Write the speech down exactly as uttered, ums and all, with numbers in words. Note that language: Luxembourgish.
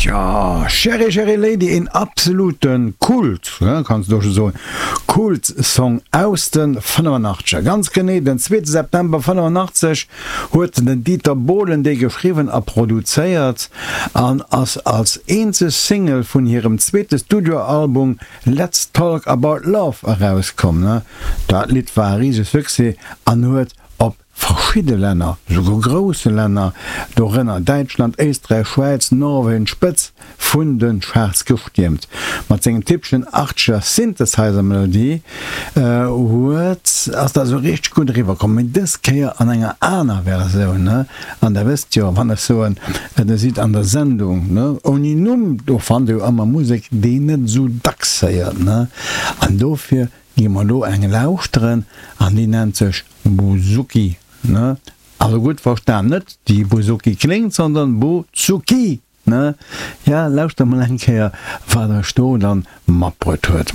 Tja, Cheri Cheri Lady, een absolute Kult, kanns du scho soen, Kult-Song aus de fënnefanachtzeger. Ganz genee den zweete September fënnefanachtzeg huet den Dieter Bohlen dee geschriwwen a produzéiert an ass als eenzeg Single vun hirem zweete Studioalbum Let's Talk About Love erauskomm. Dat Lidd war e risege Succès an huet op verschidde Länner, souguer grousse Länner, dorënner Däitschland, Éisträich, Schwäiz, Norwegen, d'Spëtz vun de Charts gestiermt. Mat sengem typeschen achtzeger Synthesizer-Melodie huet ass dat esou richteg gutt eriwwer komm, mee dës Kéier an enger aner Versioun. An der wësst jo, wann ech soen, der sidd an der Sendung ouni Numm, do fannt der jo ëmmer Musek, déi een net esou dacks héiert. An dofir gi mer elo eng lauschteren an déi nennt sech Bouzouki, ne? Also gutt verstan, net déi Bouzouki kléngt, sondern Bouzouki, ne? Ja, lauschter mol eng Kéier, wat ech do dann matbruet huet.